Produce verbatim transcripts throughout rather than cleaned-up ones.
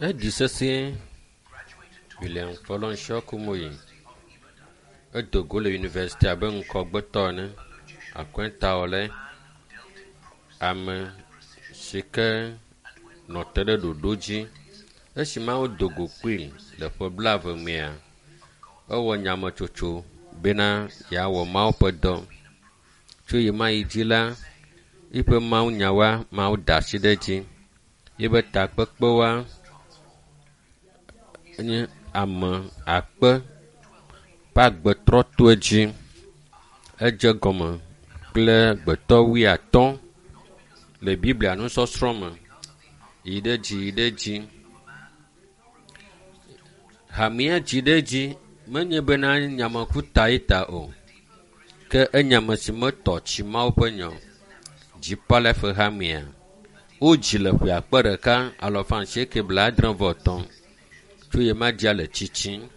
Eɖi sesẽ William Fọlọ́runṣọ́ Kúmóyì. Edo go le yunivɛsiti abe ŋkɔgbetɔ ene. Akɔntawɔlae. Ame si ke nɔ te ɖe ɖoɖo dzi. Esi ma wodo go kpli le ƒe blaeve mea, ewɔ nyametsotso bena yeawɔ Mawu ƒe dɔ. Tso yi ma yi dzi la, eƒe mawunyawoa, Mawu da asi ɖe edzi. Yebe takpekpewoa nye ame akpe ƒe agbe trɔ to edzi. Edze gɔme kple gbetɔ wuiatɔ̃ le Biblia nusɔsrɔ̃ me yi ɖe dzi yi ɖe dzi. Hamea dzi ɖe edzi menye bena nyamekuta ye ta o ke enye ame si metɔ tsi Mawu ƒe nya o. Dziƒo Life hamea wodzi le ƒe akpe ɖeka alafa asieke blaadre vɔ etɔ̃ tso ye ma dzia le tsitsim.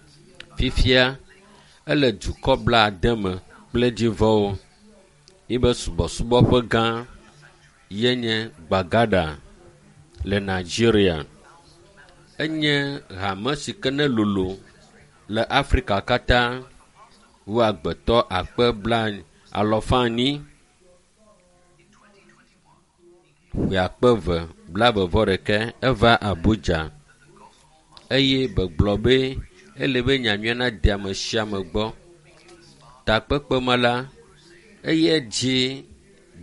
Fifia ele dukɔ blaade me kple dzivɔwo. Yibe subɔsubɔ ƒe gã ye nye Gbagada le Nigeria. Enye hame si ke ne lolo le Afrika katã wu agbetɔ akpe bla alɔfa enyi ƒe akpe eve blaeve vɔ ɖeke eva Abuja eye begblɔ be ele be nyanyuia nade ame sia ame gbɔ. Takpekpe ma la, eye dzi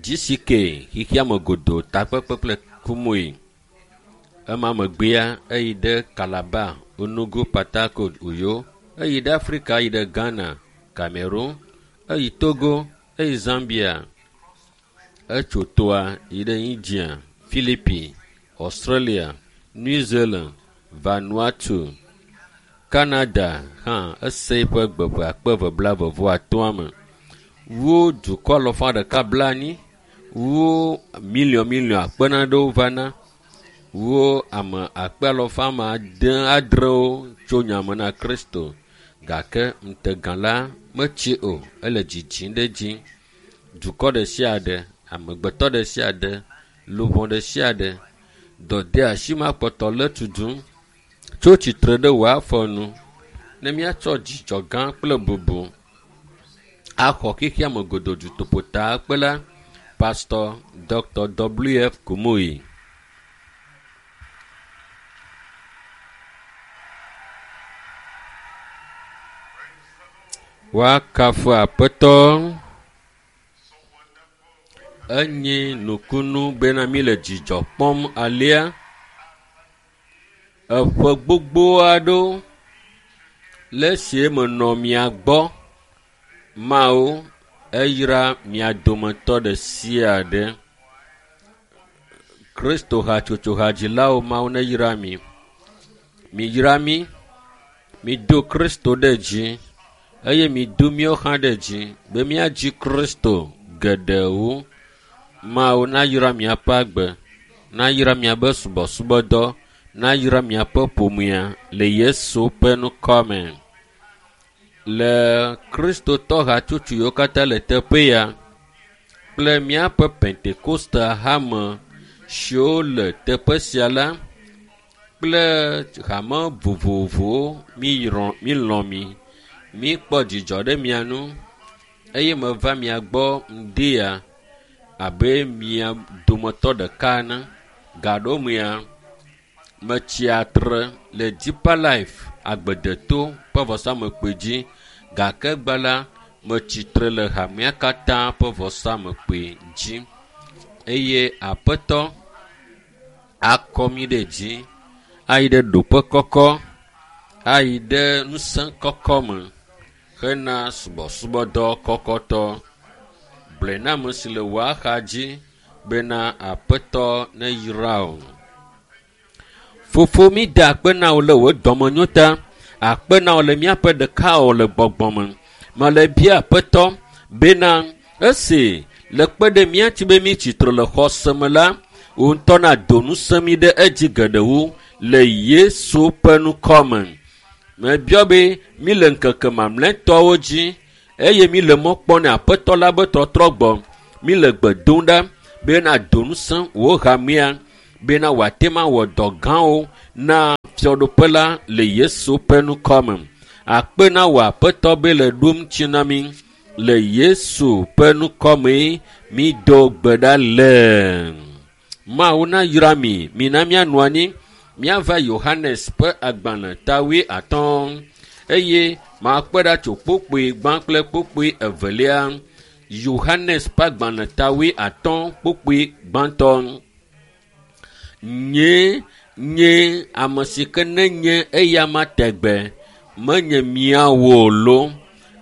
GCK xexeame godoo takpekpe kple Kumuyi. Ema megbea eyi ɖe Calabar, Enugu, Port Harcourt, Uyo. Eyi ɖe Afrika, eyi ɖe Ghana, Cameroon, eyi Togo, eyi Zambia. Etso toa yi ɖe India, Philippines, Australia, New Zealand, Vanuatu, Canada hã ese eƒe gbe ƒe akpe eve blaeve vɔ atɔ̃a me. Wu dukɔ alafa ɖeka blaenyi, wu miliɔn miliɔn akpe nanewo vana. Wu ame akpe alafa ame ade adrewo tso nyame na Kristo gake ŋutega la metsi o ele dzidzim ɖe edzi. Dukɔ ɖe sia ɖe, amegbetɔ ɖe sia ɖe, luʋɔ ɖe sia ɖe, dɔdeasi ma kpɔtɔ le tutum tso tsitre ɖe wò afɔ nu ne míatsɔ dzidzɔ gã kple bubu axɔ xexeame godoo dutoƒotakpela Pastor Dr. W F Kumuyi. Woakafu Aƒetɔ. Enye nukunu bena mi le dzidzɔ kpɔm alea. Eƒe gbogbo aɖewo le esi menɔ mia gbɔ. Mawu eyra mia dometɔ ɖe sia ɖe. Kristo hatsotso hadzilawo Mawu neyra mi. Miyra mi. Mido Kristo ɖe dzi eye mido míawo hã ɖe dzi be míadzi Kristo geɖe wu. Mawu nayra miaƒe agbe, nayra miaƒe subɔsubɔdɔ, nayra miaƒe ƒomea le Yesu ƒe ŋkɔ me. Le Kristotɔ hatsotso yiwo katã le teƒe ya kple míaƒe Pentekoste hame siwo le teƒe sia la kple hame vovovowo míyrɔ mílɔ̃ mi. Míkpɔ dzidzɔ ɖe mia ŋu eye meva mia gbɔ ŋdi ya abe mia dometɔ ɖeka ene. Gaɖomea, metsi atre le Deeper Life agbedeto ƒe vɔsamlekpui dzi gake gbe la metsi tre le hamea katã ƒe vɔsamlekpui dzi eye Aƒetɔ akɔ mi ɖe dzi ayi ɖe ɖoƒe kɔkɔ, ayi ɖe ŋusẽ kɔkɔ me hena subɔsubɔdɔ kɔkɔtɔ. Gblɔe na ame si le wò axa dzi bena Aƒetɔ neyra wò. Fofo mi da akpe na wò le wò dɔmenyo ta. Akpe na wò le míaƒe ɖekawɔwɔ le gbɔgbɔ me. Mele bia Aƒetɔ bena esi le kpe ɖe mía ŋuti be mí tsitre le xɔse me la, wò ŋutɔ nado ŋusẽ mí ɖe edzi geɖe wu le Yesu ƒe ŋkɔ me. Mebiɔ be mí le ŋkeke mamlɛtɔwo dzi eye mí le mɔ kpɔm ne Aƒetɔ la be tɔtrɔ gbɔ. Mí le gbe dom ɖa bena do ŋusẽ wò hamea bena wòate ŋu awɔ dɔ gãwo na fiaɖuƒe la le Yesu ƒe ŋkɔ me. Akpe na wò Aƒetɔ be le ɖom tsi na mí le Yesu ƒe ŋkɔ me mído gbe ɖa le. Mawu nayra mi, mina míanɔ anyi. Míava Yohanes ƒe agbalẽ ta wuiatɔ̃ eye makpɔe ɖa tso kpukpui gbã kple kpukpui evelia. Yohanes ƒe agbalẽ ta wuiatɔ̃ kpukpui gbãtɔ. Nye nye ame si ke nenye eya ma tegbe menye míawo lo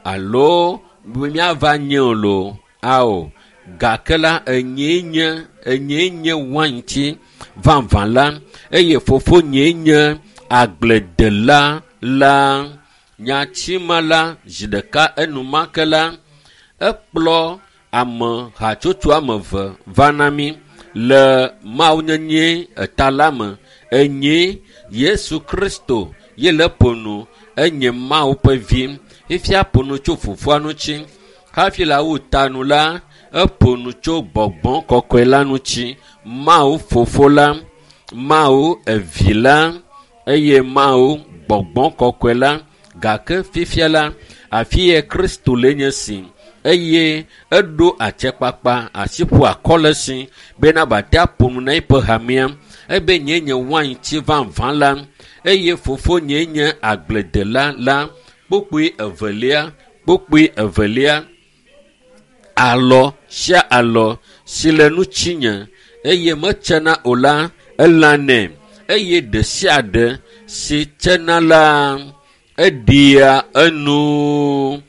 alo míava nye o lo ao gake la enyee nye enyee nye waintsi vavã la eye fofonye nye agbledela la. Nyati ma la zi ɖeka enumake la ekplɔ ame hatsotso ame eve va na mí le mawunyenye eta la me. Enye Yesu Kristo ye le ƒo nu enye Mawu ƒe vi. Fifia ƒo nu tso fofoa ŋuti. Hafi le awu ta nu la, eƒo nu tso gbɔgbɔ kɔkɔe la ŋuti. Mawu fofo la, Mawu evi la eye Mawu gbɔgbɔ kɔkɔe la. Gake fifia la, afi ye Kristo le nye si eye eɖo atsekpakpa asi ƒo akɔ le si bena wòate aƒo nu na eƒe hamea. Ebe nye nye waintsi vavã la eye fofonye nye agbledela la. Kpukpui evelia, kpukpui evelia, alɔ sia alɔ si le ŋutinye eye metsena o la, elãnɛ eye ɖe sia ɖe si tsena la, eɖia enu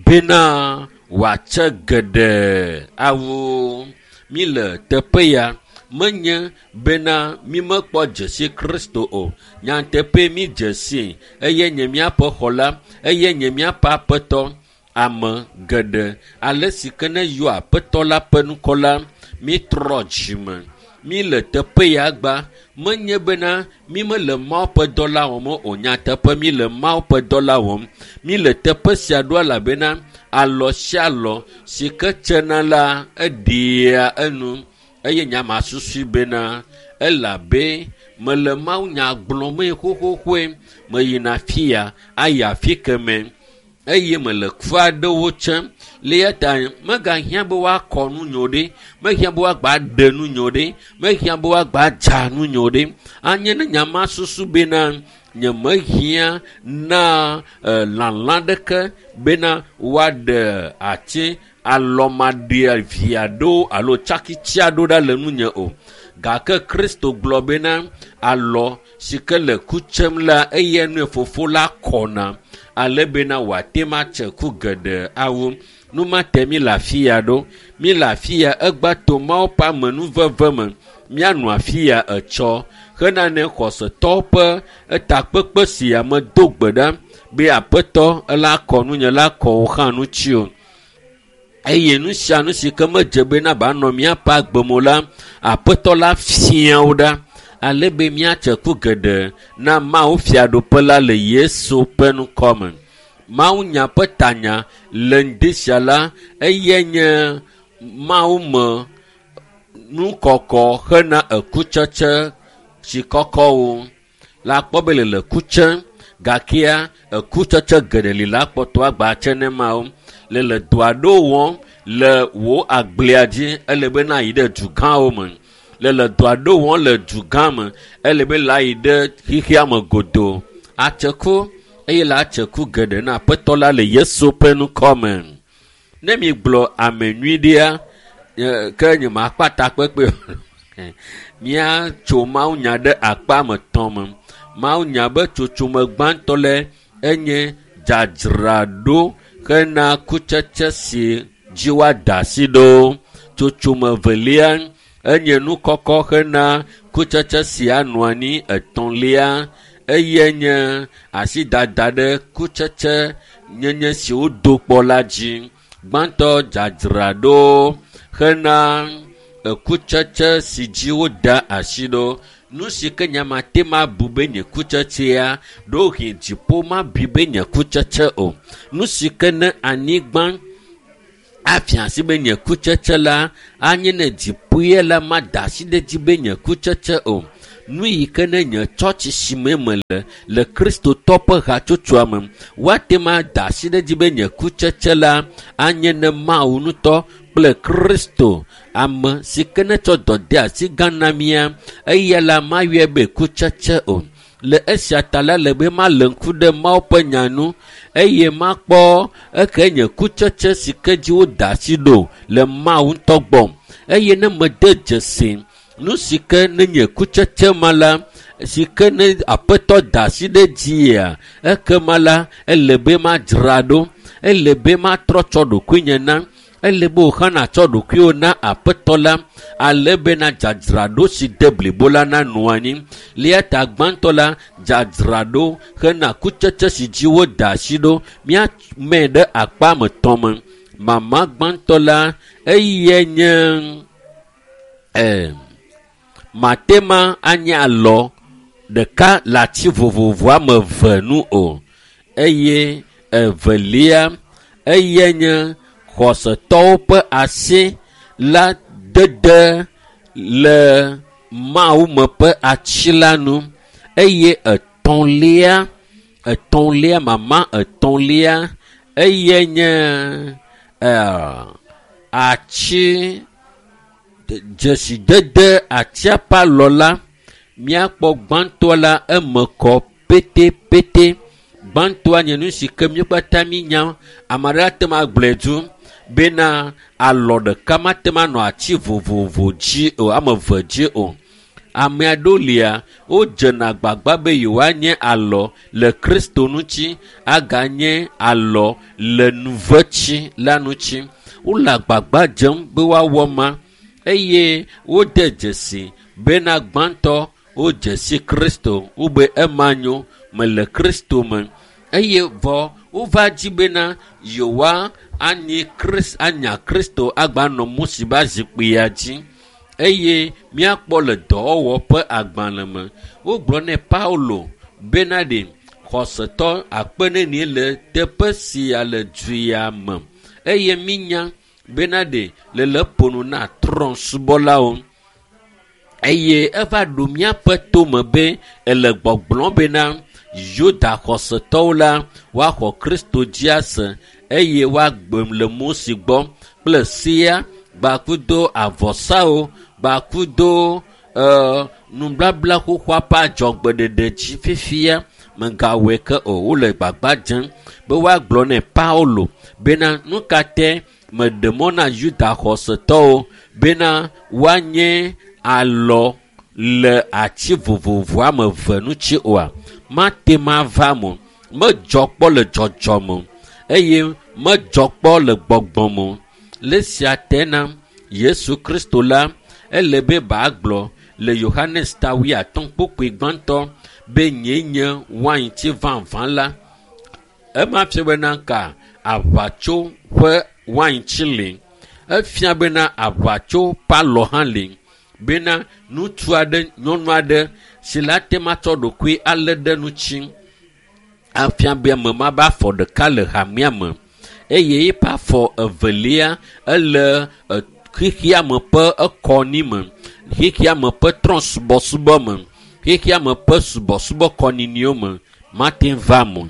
bena wòatse geɖe awu. Mi le teƒe ya menye bena mímekpɔ dzesi Kristo o. Nyateƒe mi dzesi eye nye míaƒe xɔla eye nye míaƒe aƒetɔ. Ame geɖe ale si ke ne yɔ aƒetɔ la ƒe ŋkɔ la, mítrɔ dzime. Mi le teƒe ya gba menye bena mi mele Mawu ƒe dɔ la wɔm o. Nyateƒe mi le Mawu ƒe dɔ la wɔm. Mi le teƒe sia ɖo elabena alɔ sia alɔ si ke tsena la eɖia enu eye nya ma susui bena elabe mele mawunya gblɔmee xoxoxoe meyina fia ayi afi keme eye mele ku aɖewo tsem. Le eya ta megahiã be woakɔ nu nyo ɖe, mehiã be woagba ɖe nu nyo ɖe, mehiã be woagba dza nu nyo ɖe. Anye ne nya ma susu bena nyemehiã na e, lalã ɖeke bena woaɖe ati alɔmaɖia vi aɖewo alo tsakitsi aɖewo ɖa le nunye o. Gake Kristo gblɔ bena alɔ si ke le ku tsem la eya nue fofo la kɔna ale bena wòate ŋu atse ku geɖe awu. Nu ma te mi le afi ya ɖo. Mi le afi ya egba to Mawu ƒe amenuveve me. Míanɔ afi ya etsɔ hena ne xɔsetɔwo ƒe etakpekpe sia me do gbe ɖa be Aƒetɔ ela kɔ nunye la kɔ wò hã ŋuti o. Eye nu sia nu si ke medze bena banɔ míaƒe agbe me o la, Aƒetɔ la fia wo ɖa ale be míatse ku geɖe na Mawu fiaɖuƒe la le Yesu ƒe ŋkɔ me. Mawunya ƒe tanya le ŋdi sia la, eyae nye Mawu me nukɔkɔ hena ekutsetse si kɔkɔwo. La kpɔ be le le ku tsem gakea ekutsetse geɖe li la kpɔtɔ agba tse ne mawo. Le le dɔ aɖewo wɔm le wò agblea dzi ele be na yi ɖe dugãwo me. Le le dɔ aɖewo wɔm le dugã me ele be la yi ɖe xexea me godoo. Atse ku eye la atse ku geɖe na Aƒetɔ la le Yesu ƒe ŋkɔ me. Ne mi gblɔ ame nyui ɖea, ke nye makpa takpekpe o. Míatso mawunya ɖe akpa me tɔ̃ me. Mawunya be tsotsome gbãtɔ le enye dzadzraɖo hena kutsetse si dzi woada asi ɖo. Tsotsome velia enye nukɔkɔ hena kutsetse si anɔ anyi. Etɔ̃lia eye nye asidada ɖe kutsetse nyenye si wodo kpɔ la dzi. Gbãtɔ dzadzraɖo hena ekutsetse si dzi woda asi ɖo. Nu si ke nye mate ŋu abu be nye kutsetsea, ɖewohĩ dziƒo mabui be nye kutsetse o. Nu si ke ne anyigba afia asi be nye kutsetse la, anye ne dziƒoe la mada asi ɖe edzi be nye kutsetse o. Nu yi ke ne nye tsɔtsi si me mele le Kristotɔ ƒe hatsotsoa me, woate ŋu ada asi ɖe edzi be nye kutsetse la anye ne Mawu ŋutɔ kple Kristo, ame si ke netsɔ dɔ de asi gã na mía, eya la mayɔe be kutsetse o. Le esia ta la le be male ŋku ɖe Mawu ƒe nya nu eye makpɔ eke nye kutsetse si ke dzi woda asi ɖo le Mawu ŋutɔ gbɔ. Eye ne mede dzesi nu si ke ne nye kutsetse ma la, si ke ne Aƒetɔ da asi ɖe dzia, ekema la ele be madzra ɖo, ele be matrɔ tsɔ ɖokuinye na, ele be wò hã nàtsɔ ɖokuiwò na Aƒetɔ la, ale bena dzadzraɖo si de blibo la nanɔ anyi. Le eya ta gbãtɔ la, dzadzraɖo hena kutsetse si dzi woda asi ɖo, míamee ɖe akpa me tɔ̃ me. Mama gbãtɔ la, eyae nye eh, matema anye alɔ ɖeka le ati vovovo ame eve nu o. Eye evelia, eyae nye xɔsetɔwo ƒe asi la dede le Mawu me ƒe atsi la nu. Eye etɔ̃lia, etɔ̃lia, mama etɔ̃lia, eyae nye eh, atsi dzesidede atia ƒe alɔ la. Míakpɔ gbãtɔ la eme kɔ pétépété. Gbãtɔa nye nu si ke mí katã mínya, ame aɖe ate ŋu agblɔe du bena alɔ ɖeka mate ŋu anɔ ati vovovo dzi o, ame eve dzi o. Ame aɖewo lia, wodzena agbagba be yewoanye alɔ le Kristo ŋuti, aganye alɔ le nuvetsi la ŋuti. Wole agbagba dzem be woawɔ ma eye wode dzesi bena gbãtɔ wodze si Kristo, wobe ema nyo, mele Kristo me. Eye vɔ wova dzi bena yewoa anyi Kris-, anya Kristo agba nɔ Mose ƒe zikpuia dzi. Eye míakpɔ le dɔwɔwɔ ƒe agbalẽ me, wogblɔ nɛ Paulo bena ɖe xɔsetɔ akpe nenie le teƒe sia le du ya me. Eye mínya bena ɖe le le ƒo nu na trɔ̃subɔlawo. Eye eva ɖo míaƒe tome be ele gbɔgblɔm bena Yuda xɔsetɔwo la woaxɔ Kristo dzi ase eye woagbe le Mose gbɔ kple sea gbakudo avɔsawo gbakudo, eh, nubabla xoxoa ƒe adzɔgbeɖeɖe dzi fifia. Megawɔe ke o, wole gbagba dzem be woagblɔ nɛ Paulo bena nu ka te meɖe mɔ na Yuda xɔsetɔwo bena woanye alɔ le ati vovovo ame eve ŋuti oa? Mate ŋu ava me o. Medzɔ kpɔ le dzɔdzɔme o eye medzɔ kpɔ le gbɔgbɔ me o. Le esia te na Yesu Kristo la, ele be bagblɔ le Yohanes ta wuiatɔ̃ kpukpui gbãtɔ be nyee nye waintsi vavã la. Ema fia bena ka aʋatso ƒe waintsi li. Efia bena aʋatso ƒe alɔ hã li. Bena ŋutsu aɖe, nyɔnu aɖe si la te ŋu atsɔ ɖokui alé ɖe ŋuti afia be ame ma be afɔ ɖeka le hamea me eye eƒe afɔ evelia ele xexea me ƒe ekɔni me, xexea me ƒe trɔ̃subɔsubɔ me, xexea me ƒe subɔsubɔ kɔniniwo me, mate ŋu va me o.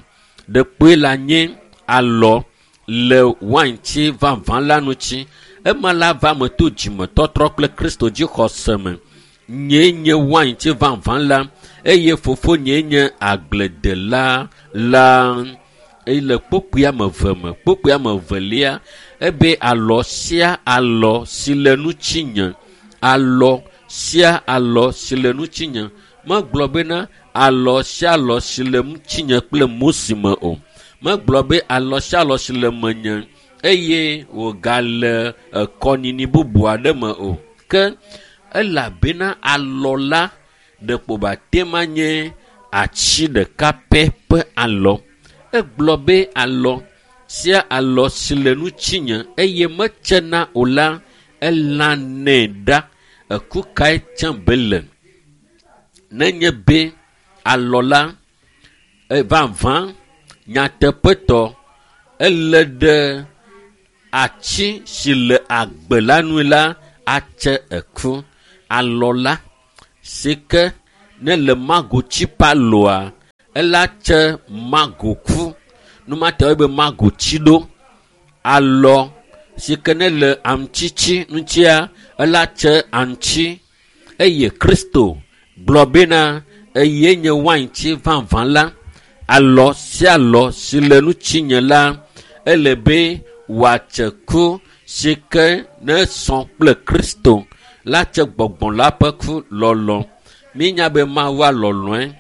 Ɖekpoe la nye alɔ le waintsi vavã la ŋuti. Ema la va me to dzimetɔtrɔ kple Kristo dzixɔse me. Nyee nye waintsi vavã la eye fofonye nye agbledela la. Eye le kpukpui ame eve me, kpukpui ame evelia, ebe alɔ sia alɔ si le ŋutinye, alɔ sia alɔ si le ŋutinye. Megblɔ bena alɔ sia alɔ si le ŋutinye kple Mose me o. Megblɔ be alɔ sia alɔ si le menye eye wògale ekɔnini bubu aɖe me o. Ke elabena alɔ la ɖeko bate ŋu anye atsi ɖeka pɛ ƒe alɔ. Egblɔ be alɔ sia alɔ si le ŋutinye eye metsena o la, elãnɛ ɖa. Eku kae tsem be le? Nenye be alɔ la, e, vavã nyateƒetɔ ele ɖe atsi si le agbe la nu la atse eku. Alɔ la si ke Ne le magotsi ƒe alɔa, ela tse magoku. Numate be magotsi ɖo. Alɔ si ke ne le aŋtsitsi ŋutia, ela tse aŋtsi. Eye Kristo gblɔ bena eye nye waintsi vavã la. Alɔ sia alɔ si le ŋutinye la, ele be wòatse ku si ke ne sɔ kple Kristo la tse gbɔgbɔ la ƒe ku lɔlɔ. Mínya be Mawu alɔlɔe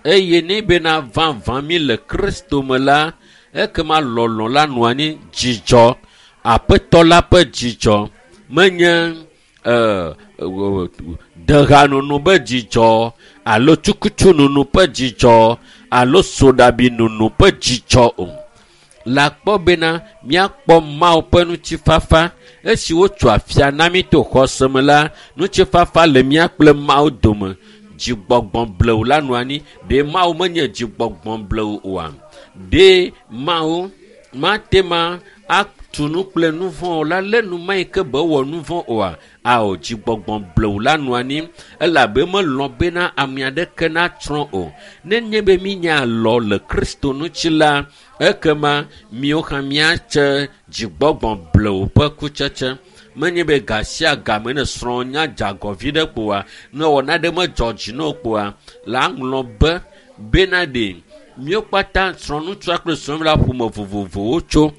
eye ne bena vavã mi le Kristo me la, ekema lɔlɔ la nɔ anyi dzidzɔ, aƒetɔ la ƒe dzidzɔ menye e, dehanono be dzidzɔ alo tsukutsunono ƒe dzidzɔ alo soɖabinono ƒe dzidzɔ o. Le akpɔ bena míakpɔ Mawu ƒe ŋutifafa esi wotso afia na mí to xɔse me la, ŋutifafa le mía kple Mawu dome. Dzigbɔgbɔ blewu la nɔ anyi. Ɖe Mawu menye dzigbɔgbɔ blewu oa? Ɖe Mawu mate ma atu nu kple nu vɔ̃ o la lé nu ma yi ke be wɔ nu vɔ̃ oa? Ao, dzigbɔgbɔ blewu la nɔ anyi elabe melɔ̃ bena ame aɖeke natsrɔ̃ o. Nenye be mínya alɔ le Kristo ŋuti la, ekema míawo hã míatse dzigbɔgbɔ blewu ƒe kutsetse. Menye be ga sia game ne srɔ̃ nya dze agɔ vi ɖe kpoa, ne wɔna ɖe medzɔ dzi na o kpoa, la ŋlɔ be bena ɖe míawo kpata srɔ̃ŋutsua kple srɔ̃nyɔnu la ƒome vovovowo tso.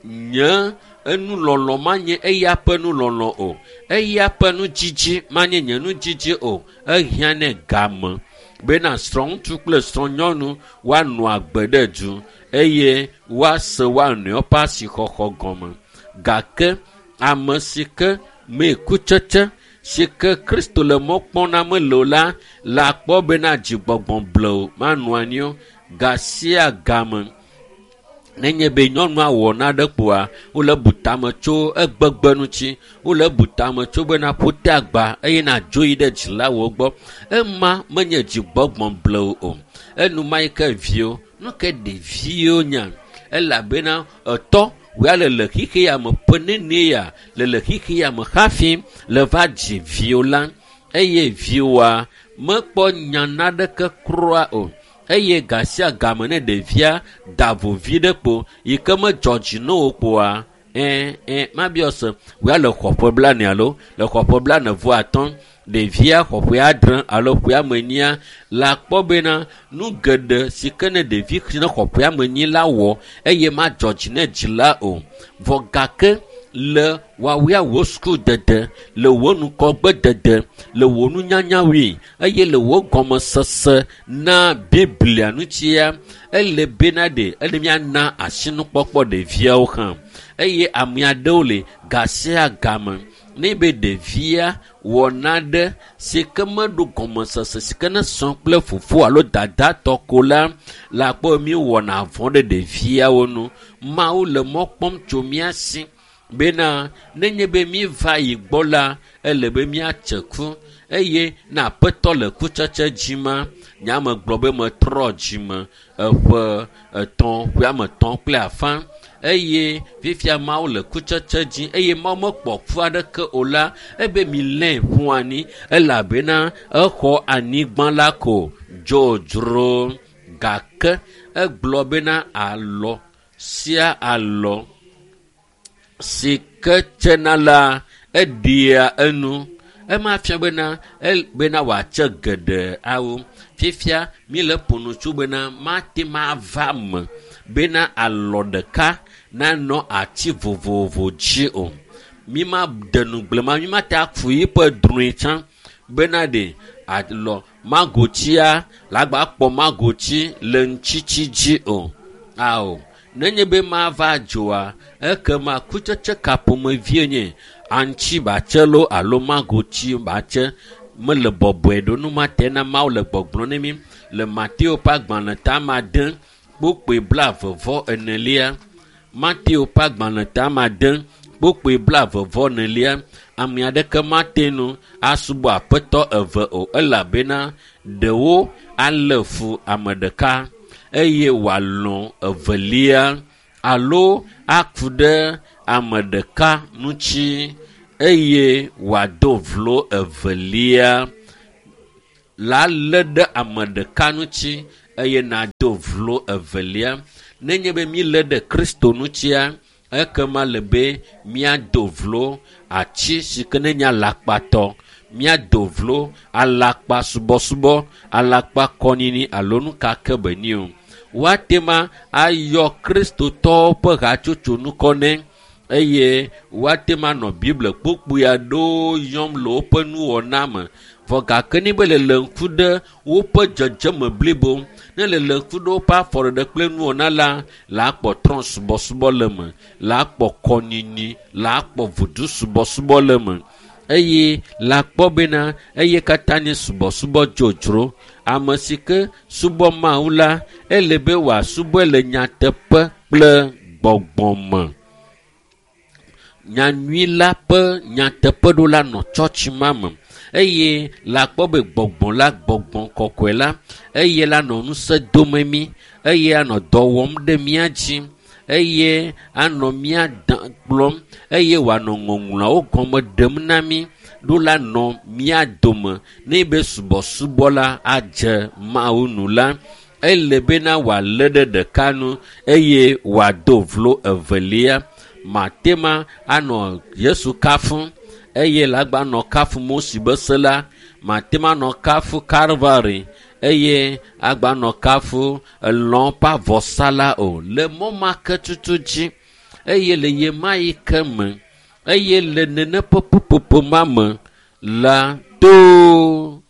Nye enulɔlɔ manye eya ƒe nulɔlɔ o. Eya ƒe nudzidzi manye nye nudzidzi o. Ehiã nɛ game bena srɔ̃ŋutsu kple srɔ̃nyɔnu woanɔ agbe ɖe du eye woase woa nɔewo ƒe asixɔxɔ gɔme. Gake ame si ke mee kutsetse si ke Kristo le mɔ kpɔm na mele o la, le akpɔ bena dzigbɔgbɔ blewu manɔ anyi o. Ga sia game nenye be nyɔnua wɔ naɖe kpoa, wole bu tame tso egbegbe ŋuti, wole bu tame tso bena ƒote agba eye nadzo yi ɖe dzilawo gbɔ. Ema menye dzigbɔgbɔ blewu o. Enuma yi ke viwo, nu ke ɖeviwo nya elabena etɔ wòya le le xixe ya me ƒe nene ya le le xixe ya me hafi le va dzi viwo la eye viwoa mekpɔ nya naɖeke kura o. Eye ga sia game ne ɖevia da vo vi ɖe kpo yi ke medzɔ dzi na o kpoa, ɛ ɛ mabiɔ se wòya le xɔ ƒe blaene alo le xɔ ƒe blaene vɔ atɔ̃, ɖevia xɔ ƒe adre alo ƒe ame enyia le akpɔ bena nu geɖe si ke ne ɖevi si ne xɔ ƒe ame enyi la wɔ eye madzɔ dzi ne dzila o. Vɔ gake le woawoa wò sukudede, le wò nukɔgbedede, le wò nunyanyawoe eye le wò gɔmesese na Biblia ŋutia, ele bena ɖe ele míana asinukpɔkpɔ ɖeviawo hã. Eye ame aɖewo le ga sia game ne be ɖevia wɔ naɖe si ke meɖo gɔmesese si ke ne srɔ̃ kple fofo alo dada tɔ ko la, le akpɔ mi wɔna vɔ̃ ɖe ɖeviawo nu. Mawu le mɔ kpɔm tso mía si bena nenye be míva yi gbɔ la, ele be míatse ku eye ne aƒetɔ le kutsetse dzi ma, nye ame gblɔ be metrɔ dzime eƒe etɔ̃, ƒe ame etɔ̃ kple afã eye fifia Mawu le kutsetse dzi eye Mawu mekpɔ ku aɖeke o la, ebe milé ƒu anyi elabena exɔ anyigba la ko dzodzro. Gake egblɔ bena alɔ sia alɔ si ke tsena la, eɖia enu. Ema fia bena el, bena wòatse geɖe awu. Fifia míle ƒo nu tso bena mate ma va me bena alɔ ɖeka nanɔ ati vovovo dzi o. Mi ma de nugble ma, mi ma te aku yiƒe drɔ̃e tsã bena ɖe alɔ magotsia la gba kpɔ magotsi le ŋutsitsi dzi o. Ao, nenye be mava dzoa, ekema kutsetse ka ƒomevie nye aŋtsi batse loo alo magotsi batse mele bɔbɔe ɖo. Nu ma te na Mawu le gbɔgblɔm ne mí le Mateo ƒe agbalẽ ta ade kpukpui blaeve vɔ enelia. Mateo ƒe agbalẽ ta ade kpukpui blaeve vɔ enelia. Ame aɖeke mate ŋu asubɔ aƒetɔ eve o elabena ɖewo alé fu ame ɖeka eye wòalɔ̃ evelia alo aku ɖe ame ɖeka ŋuti eye wòado vlo evelia. la lé ɖe ame ɖeka ŋuti eye nado vlo evelia. Nenye be mílé ɖe Kristo ŋutia, ekema le be míado vlo ati si ke ne nye alakpatɔ, míado vlo alakpa subɔsubɔ, alakpa kɔnyinyi alo nu ka ke be nyi o. Woate ma ayɔ kristotɔwo ƒe hatsotso ŋkɔ nɛ eye woate ma nɔ Biblia kpukpui aɖewo yɔm le woƒe nuwɔna me. Vɔ gake ne be le le ŋku ɖe woƒe dzedzeme blibo, ne le le ŋku ɖe woƒe afɔɖeɖe kple nuwɔna la, la akpɔ trɔ̃subɔsubɔ le eme, la akpɔ kɔnyinyi, la akpɔ vodusubɔsubɔ le eme eye la akpɔ bena eye katã nye subɔsubɔ dzodzro. Ame si ke subɔ Mawu la, ele be wòasubɔe le nyateƒe kple gbɔgbɔ me. Nyanyui la ƒe nyateƒeɖola nɔ tsɔtsi ma me eye la akpɔ be gbɔgbɔ la, gbɔgbɔ kɔkɔe la, eye la nɔ ŋusẽ dome mí, eye anɔ dɔ wɔm ɖe mía dzi, eye anɔ mía kplɔm, eye wòanɔ ŋɔŋlɔawo gɔme ɖem na mí ɖo la nɔ mía dome ne be subɔsubɔ la adze Mawu nu la, ele bena wòalé ɖe ɖeka nu eye wòado vlo evelia. Mate ma anɔ Yesu kafum eye la gba nɔ kafu Mose be se la, mate ma nɔ kafu Kalvari eye agba nɔ kafu elɔ̃ ƒe avɔsa la o. Le mɔ ma ke tutu dzi eye le ye ma yi ke me eye le nene ƒe ƒuƒoƒo ma me la to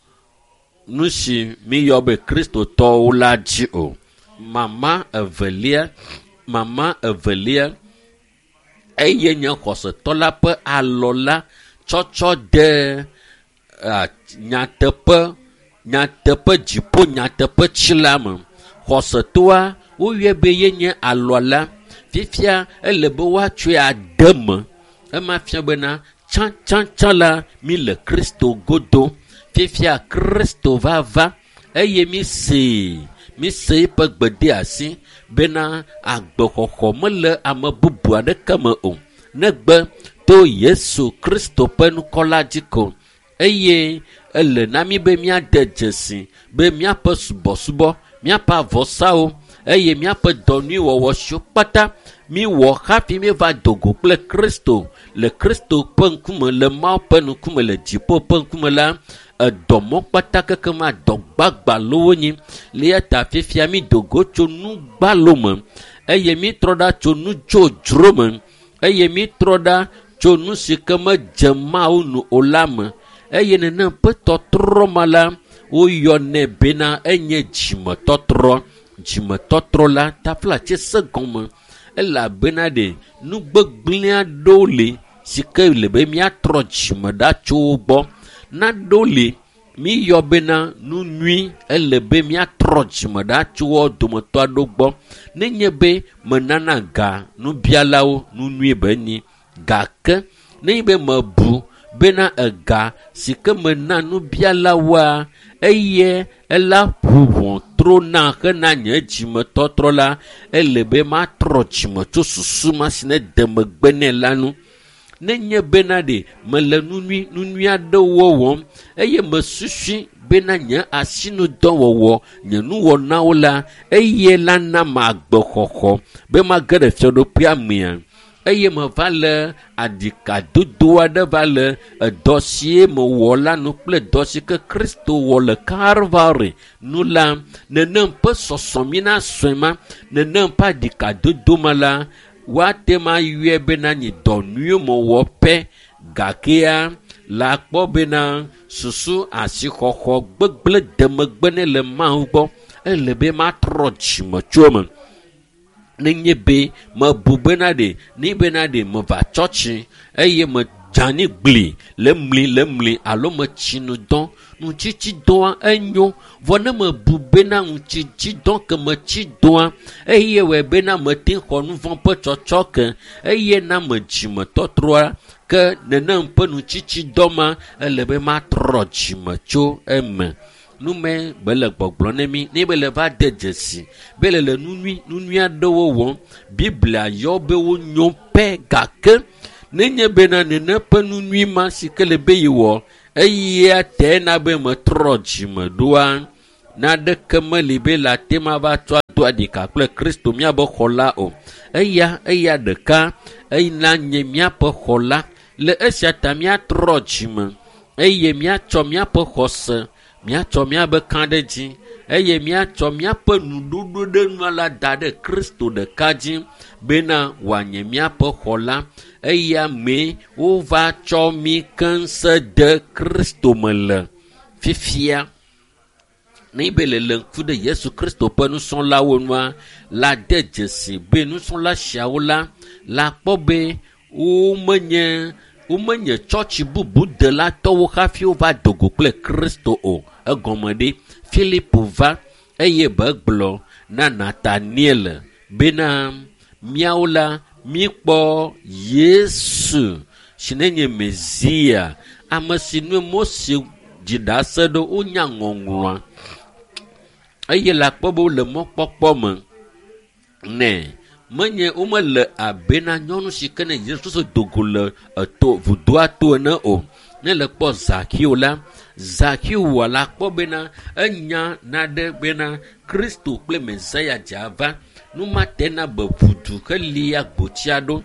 nu si míyɔ be kristotɔwo la dzi o. Mama evelia, mama evelia eye nye xɔsetɔ la ƒe alɔ la tsɔtsɔ de nyateƒe, nyateƒe dziƒo nyateƒe tsi la me. Xɔsetɔa woyɔe be yenye alɔ la. Fifia ele be woatsɔe ade me. Ema fia bena tsãtsãtsã la mi le Kristo godo. Fifia Kristo va va eye mi see, mi se eƒe gbedeasi bena agbexɔxɔ mele ame bubu aɖeke me o negbe to Yesu Kristo ƒe ŋkɔ la dzi ko. Eye ele na mí be míade dzesi be míaƒe subɔsubɔ, míaƒe avɔsawo eye míaƒe dɔ nyuiwɔwɔ siwo kpata míwɔ hafi míeva do go kple Kristo le Kristo ƒe ŋkume, le Mawu ƒe ŋkume, le dziƒo ƒe ŋkume la, edɔ mɔ kpata keke ma dɔ gbagbalowo nyi. Le eya ta fifia mí do go tso nu gbalo me eye mítrɔ ɖa tso nu dzodzro me eye mítrɔ ɖa tso nu si ke medze Mawu nu o la me. Eye nenem ƒe tɔtrɔ ma la, woyɔnɛ bena enye dzimetɔtrɔ. Dzimetɔtrɔ la taflatse se gɔme elabena ɖe nu gbegblẽ aɖewo li si ke le be míatrɔ dzime ɖa tso wo gbɔ. Naɖewo li míyɔ bena nu nyui ele be míatrɔ dzime ɖa tso wo dometɔ aɖewo gbɔ. Nenye be menana ga nubialawo nu nyui be nyi gake nenye be mebu bena ega si ke mena nubialawoa eye ela ʋu ʋɔtro na hena nye dzimetɔtrɔ la, ele be matrɔ dzime tso susu ma si ne de megbe nɛ la nu. Nenye bena ɖe mele nu nyui, nu nyui aɖewo wɔm eye mesusui bena nye asinudɔwɔwɔ, nye nuwɔnawo la, eye la na ma agbexɔxɔ be mage ɖe fiaɖuƒea mea. Eye meva le aɖikadodo aɖe va le edɔ si mewɔ la nu kple dɔ si ke Kristo wɔ le Kalvari nu la, nenem ƒe sɔsɔmi na sɔe ma, nenem ƒe aɖikadodo ma la, woate ma yɔe bena nye dɔ nyuie mewɔ pɛ gakea la kpɔ bena susu asixɔxɔ gbegblẽ de megbe ne le Mawu gbɔ. Ele be matrɔ dzime tso eme. Nenye be mebu bena ɖe, ne bena ɖe meva tsɔtsi eye medze anyi gli le mli le mli alo metsi nu dɔ, nutsitsidɔa enyo. Vɔ ne mebu bena nutsitsidɔ ke metsi dɔa eye wɔe bena mete xɔ nu vɔ̃ ƒe tsɔtsɔ ke eye na me dzimetɔtrɔa ke nenem ƒe nutsitsidɔ ma ele be matrɔ dzime tso eme. Nume be le gbɔgblɔ ne mí, ne be le va de dzesi be le le nu nyui, nu nyui aɖewo wɔm. Biblia yɔ be wonyo pɛ gake nenye bena nene ƒe nu nyui ma si ke le be yewɔ Eya te na be metrɔ dzime ɖoa naɖeke meli be le ate ma va tsɔ do aɖika kple Kristo míabe xɔla o. Eya eya ɖeka ena nye míaƒe xɔla. Le esia ta míatrɔ dzime eye míatsɔ míaƒe xɔse, míatsɔ míabe kãɖedzi eye míatsɔ míaƒe nuɖoɖo ɖe nua la da ɖe Kristo ɖeka dzi bena wòanye míaƒe xɔla. Eya mee wova tsɔ mí keŋ de Kristo me le fifia. Ne be le le ŋku ɖe Yesu Kristo ƒe nusrɔ̃lawo nua, la de dzesi be nusrɔ̃la siawo la, la kpɔ be womenye womenye tsɔtsi bubu delatɔwo hafi wova do go kple Kristo o. Egɔme ɖe Filipo va eye be gblɔ na Nataniel bena míawo la míkpɔ Yesu si ne nye Mesia, ame si nue Mose dzi ɖase ɖo wonya ŋɔŋlɔa eye le akpɔ be wole mɔkpɔkpɔ me nɛ. Menye womele abe na nyɔnu si ke ne Yesu Kristo do go le eto vudoa to ene o. Ne le kpɔ Zakeo la, Zakeo wɔ la kpɔ bena enya naɖe bena Kristo kple Mesia dze ava. Nu ma te na be ʋudu helia gbotsia ɖo.